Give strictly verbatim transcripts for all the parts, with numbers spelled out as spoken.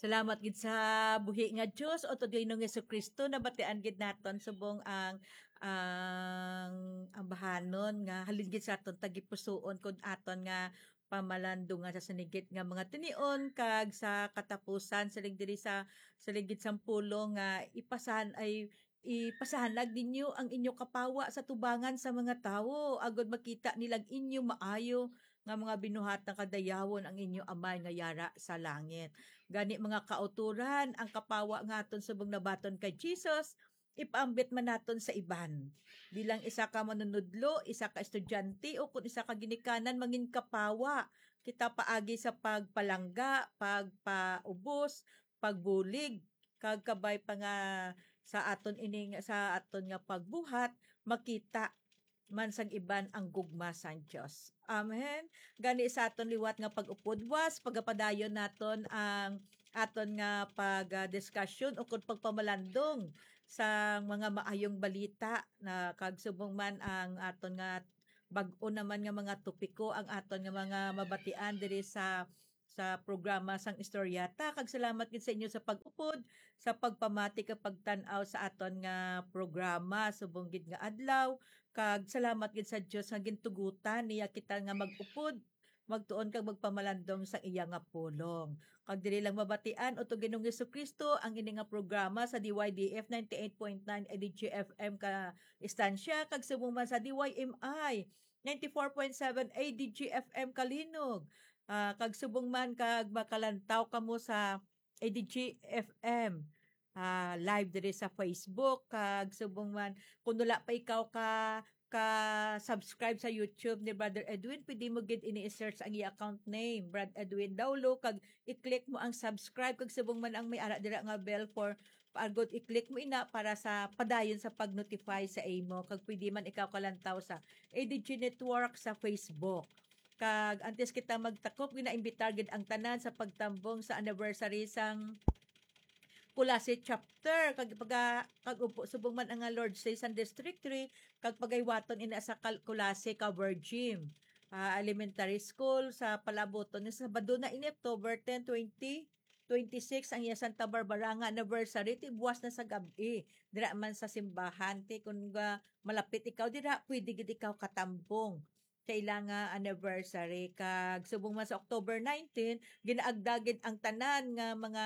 Salamat gid sa buhi nga Dios, o to Ginoong Jesu-Cristo, nabatian gid naton subong ang, ang, ang bahanon nga halin gid sa aton tagipusoon kun aton nga pamalandungan sa sinigit nga mga tinion, kag sa katapusan, siling diri sa, siling gid sang pulong nga ipasan-, ay, ipasahanag ninyo ang inyo kapawa sa tubangan sa mga tawo, agod makita nilang inyo maayo nga mga binuhatan, kag dayawon ang inyo Amay nga yara sa langit. Gani, mga kautoran, ang kapawa nga aton subong nabaton kay Jesus, ipaambit man naton sa iban. Bilang isa ka manunudlo, isa ka estudyante, o kon isa ka ginikanan, mangin kapawa kita paagi sa pagpalangga, pagpaubos, pagbulig, kag kabay pa nga sa aton ining, sa aton nga pagbuhat, makita man sang iban ang gugma sang Dios. Amen. Gani, sa aton liwat nga pag-upod, was pagapadayon naton ang aton nga pag, ah, discussion o kon pagpamalandong sa mga maayong balita na, kag subong man ang aton nga bag-o naman nga mga topiko ang aton nga mga mabatian diri sa, sa programa sang Istoryata. Kag salamat gid sa inyo sa pag-upod, sa pagpamati kag pagtan-aw sa aton nga programa subong gid nga adlaw. Kag salamat gid sa Dios nga gintugutan niya kita nga mag-upod, magtuon kag magpamalandong sa iya nga pulong. Kag diri lang mabatian, o to Ginoong Jesu-Cristo, ang ini nga programa sa D Y D F ninety-eight point nine A D G F M ka istansya, kag subong man sa D Y M I ninety-four point seven A D G F M Kalinog. Ah, kag subong man kag makalantaw kamo sa A D G F M, ah, live diri sa Facebook, kag subong man, kung wala pa ikaw ka, ka-subscribe sa YouTube ni Brother Edwin, pwede mo gid ini i-search ang iya account name, Brad Edwin Daulo, kag i-click mo ang subscribe, kag subong man ang may ara dira nga bell for, agod i-click mo ina para sa padayon sa pag-notify sa imo, kag pwede man ikaw kalantaw sa A D G Network sa Facebook. Kag antes kita magtakop, ginaimbitar gid ang tanan sa pagtambong sa anniversary sang Culasi Chapter. Kag pag-, kag upo, subong man ang, ah, Lord's Day sang District three, kag pagaywaton ina sa Kal-, Culasi Cover Gym, ah, Elementary School sa Palaboton. Nga Sabado na ini, October ten, twenty twenty-six, ang iya Santa Barbara nga anniversary, ti buwas na sa gab-i. Dira man sa simbahan, ti kun ga-, malapit ikaw dira, pwede gid ikaw katambong sa ila nga anniversary. Kag subong man sa October nineteen, ginaagda gid ang tanan nga mga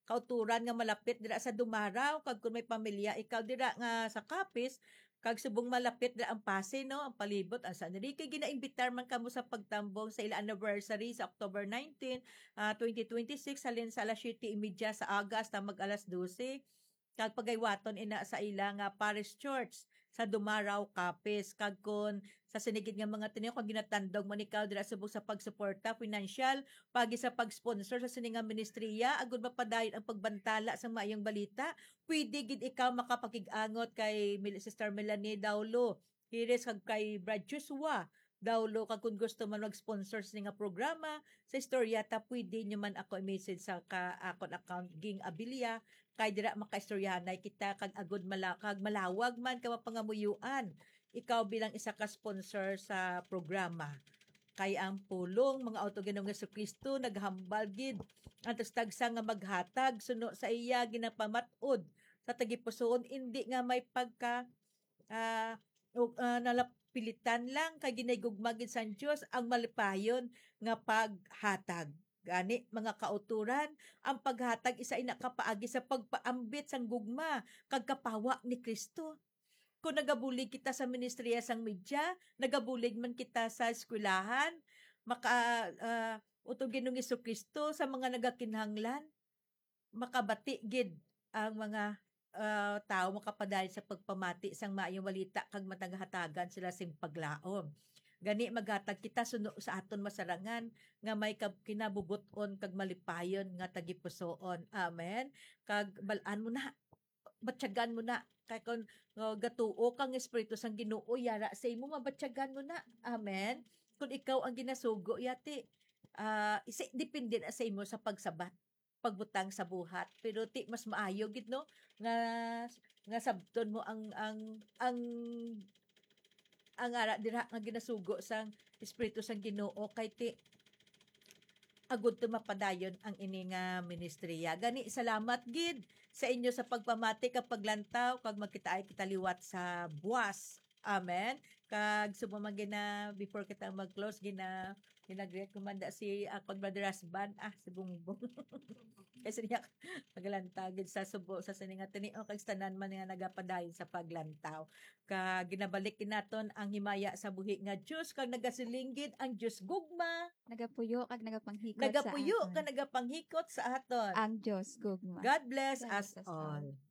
kauturan nga malapit dira sa Dumaraw, kag kun may pamilya ikaw dira nga sa Capiz, kag subong malapit dira ang Pasay, no, ang palibot, ang San Enrique, ginaimbitar man kamo sa pagtambong sa ila anniversary sa October nineteen, ah, twenty twenty-six, halin sa alas siyete y media sa aga hasta mag alas dose. Kag pagaywaton ina sa ila nga Parish Church sa Dumaraw, Capiz. Kag kun sa sinigit nga mga tinion, kung ginatandog man ikaw dira subong sa pagsuporta, financial, pagi sa pag-sponsor sa sini nga ministriya, agud mapadayon ang pagbantala sang maayong balita, pwede gid ikaw makapakig-angot kay Mil-, Sister Melanie Daulo Hires kag kay Brad Joshua Daulo, kag kung gusto man mag-sponsor sini nga programa sa Istoryata, pwede nyo man ako i-message sa ka-, akon account, Ging Abilia, kay dira makaistoryahanay kita, kag agud mala-, kag malawag man ka mapangamuyuan ikaw bilang isa ka sponsor sa programa. Kay ang pulong, mga auto, Ginoong Jesucristo, naghambal gid ang tagsa nga maghatag suno sa iya ginapamat-od sa tagipusoon, indi nga may pagka, ah, o, ah, nalapilitan lang, kay ginahigugma gid sang Dios ang malipayon nga paghatag. Gani, mga kauturan, ang paghatag isa ina ka paagi sa pagpaambit sang gugma kag kapawa ni Cristo. Kung nagabulig kita sa ministriya sang media, nagabulig man kita sa eskwelahan, maka-, ah, utod Ginoong Jesu-Cristo sa mga nagakinahanglan, makabati gid ang mga, ah, tawo makapadayon sa pagpamati sang maayong balita kag mataghatagan sila sing paglaom. Gani, maghatag kita suno sa aton masarangan nga may kab-, kinabubot-on kag malipayon nga tagipusoon. Amen. Kag bal-an mo na, batyagan mo na. Kay kun, uh, gatuo kang Espiritu sang Ginoo, yara sa imo, mabatyagan mo na. Amen. Kung ikaw ang ginasugo, yati, ah, isi-, depende na sa imo sa pagsabat, pagbutang sa buhat. Pero ti, mas maayo gid, no, nga, nga sabton mo ang, ang, ang, ang ara dira nga ginasugo sang Espiritu sang Ginoo, kay ti, agud to mapadayon ang ini nga ministriya. Gani, salamat gid sa inyo sa pagpamati kag paglantaw, kag magkitaay kita liwat sa buwas. Amen. Kag subong man gina, before kita mag-close, gina, gina-greet ko man da si akon brother husband, ah, si Bongbong. Kasi niya, maglantawon gid sa subo, sa sining nga tinion, kag sa tanan man nga nagapadayon sa paglantaw. Kag ginabalik gid naton ang himaya sa buhi nga Dios, kag nagasiling gid ang Dios gugma. Nagapuyo kag nagapanghikot Nagapuyo sa aton. Kag nagapanghikot sa aton. Ang Dios gugma. God bless God us bless us all. all.